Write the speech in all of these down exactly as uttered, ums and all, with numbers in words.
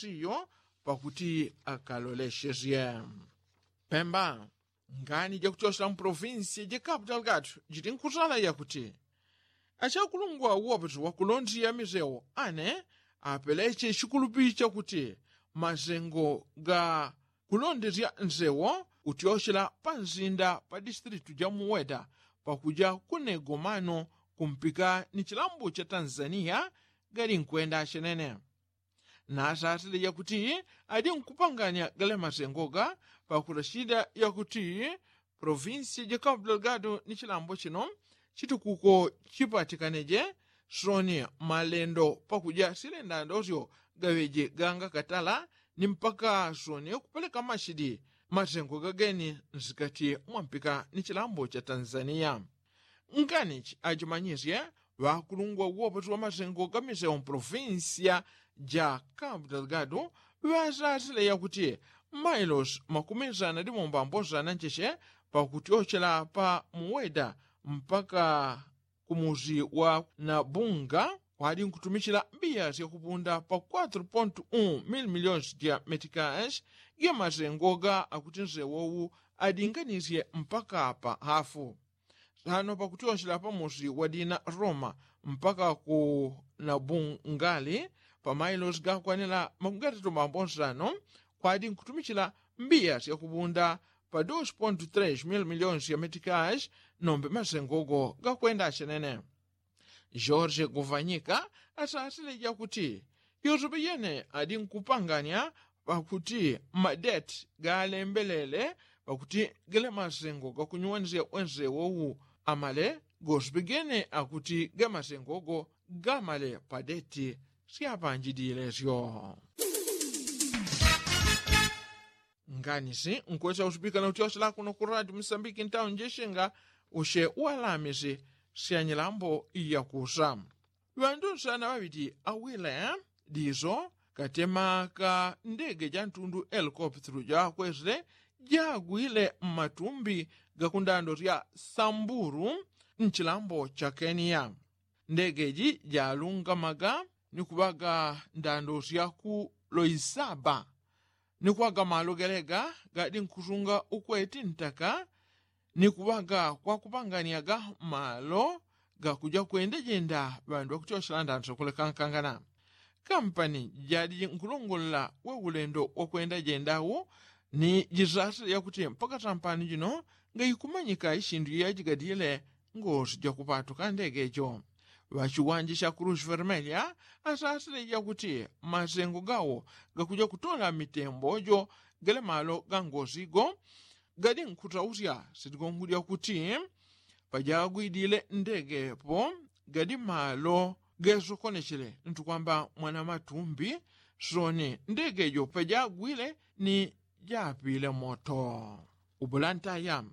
tiyo pakuti akaloleshesye. Pemba, ngani jakutyosela mu provinsi ja kapu delgado jiti nkusala yakuti achakulungwa uwopeti wakulondesya misewo ane apeleche chikulupi chakuti masengo ga kulondesya nsewo kutyochela pa nsinda pa distilitu ja muweta pakuja kunegomano kumpika ni chilambo cha tanzania gali nkwenda chenene. Nasasile yakuti adi nkupanganya gale masengoga pakulashida yakuti provinsi ja kapu delgado ni chilambo chino chitukuko chipatikaneje soni malendo pakuja silendandosyo gaŵeje ganga katala ni mpaka soni kupeleka mashidi masengo gageni nsikati mwampika ni chilambo cha tanzania. Nganichi ajimanyisye ŵakulungwa uwopoti wa masengo ga misewo mu provinsiya ja kapu delgado ŵasasile yakuti mailosi makumi sana ndi mombambosana ncheche pakutyochela pa muweda mpaka kumusi wa nabunga kwadi nkutumichila mbiya syakupunda pa kwatru pontu un mili miliyoni sya metikashi. Ge masengoga akuti nsewowu adinganisye mpaka pa hafu sano pakutyonchela pamusi wa dina roma mpaka ku nabungali pa mailosi gakwanila makumi gatatu mambo nsano kwadi nkutumichila mbiya syakupunda pa dos pontu tres mili miliyoni sya metikashi. Nombe masengogo gakwenda achenene. George guvanyika asasile jakuti yosepe yene adi nkupanganya pakuti madeti galembelele pakuti gele masengo gakunyuwanisya wense wowu amale gosepe gene akuti ge masengogo gamale pa deti syapanjidile syo. Nganisi nkwesa usipika na utyosela kuno ku radio musambiki ntauni jeshenga usye walamisi sya nyilambo iyakusa. Ŵandu nsana ŵaŵiti awile diso katema ka ndege ja ntundu elikopitulu jakwesile jagwile mmatumbi ga kundando sya sambulu nchilambo cha keniya. Ndege ji jalungamaga ni kuŵaga ndando sya ku loisaba ni kuŵaga malo gelega gadi nkusunga ukweti ntaka ni kuŵaga kwakupanganiaga malo gakuja kwenda jenda ŵandu ŵakutyosela ndando syakulekankangana. Kampani jadi nkulongolola we ulendo wakwenda jenda wu ni jisasile yakuti mpaka sampano jino ngaikumanyika isindu yajigadile ngosi jakupatuka ndege jo. Ŵachiwanja cha kulusi vermelya asasile yakuti masengo gawo gakuja kutola mitembo jo gele malo ga ngosi go gadi nkutausya sitigongo lyakuti pajagwidile ndege po gadi malo gesokonechele ntukwamba mwana matumbi soni ndege jo pajagwile ni japile moto. Ubulantaya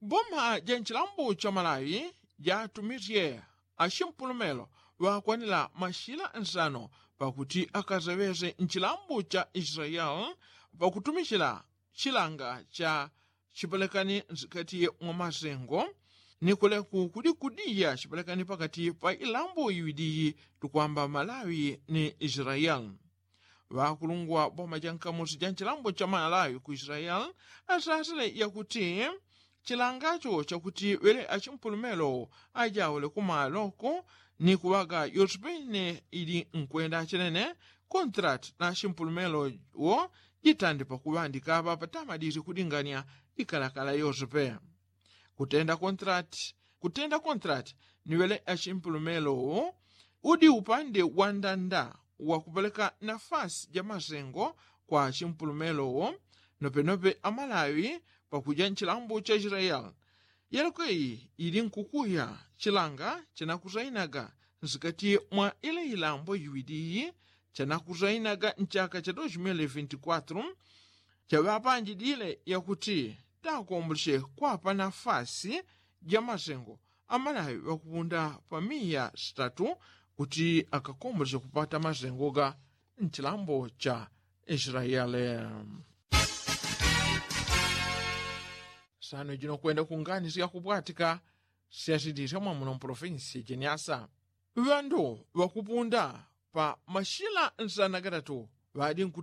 boma ja nchilambo cha malawi jatumisye achimpulumelo ŵakwanila mashila nsano pakuti akaseŵese nchilambo cha israeli pakutumisila chilanga cha chipelekani nsikati mwa masengo ni kuleku kudi kudiya chipelekani pakati pa ilambo iwidi tukwamba malawi ni israeli. Ŵakulungwa boma ja nkamusi ja nchilambo cha malawi ku israeli asasile yakuti chilangacho chakuti ŵele achimpulumelo ajaule kumaloko ni kuŵaga yosepe ine ili nkwenda chenene kontrati na achimpulumelo wo jitande pakuŵandika ŵapatamadisye kudingania ikalakala yosepe. Kutenda kontrati kutenda kontrati ni ŵele achimpulumelo wo udi upande wa ndanda wakupeleka nafasi ja masengo kwa achimpulumelo wo nopenope amalawi pakuja nchilambo cha israeli. Yaloko iyi ili nkukuya chilanga chanakusainaga nsikati mwa ile ilambo iwidi iyi chanakusainaga nchaka cha dos mil vinti kwatru chaŵapanjidile yakuti takomboleche kwapa nafasi ja masengo amalawi ŵakupunda pa miya sitatu kuti akakomboleche kupata masengo ga nchilambo cha israeli. Sano jino kwenda kunganisya kupwatika syasindisya mwamuno mpolofinsi jeniasa ŵandu ŵakupunda pa mashila nsana gatatu ŵadi nkuti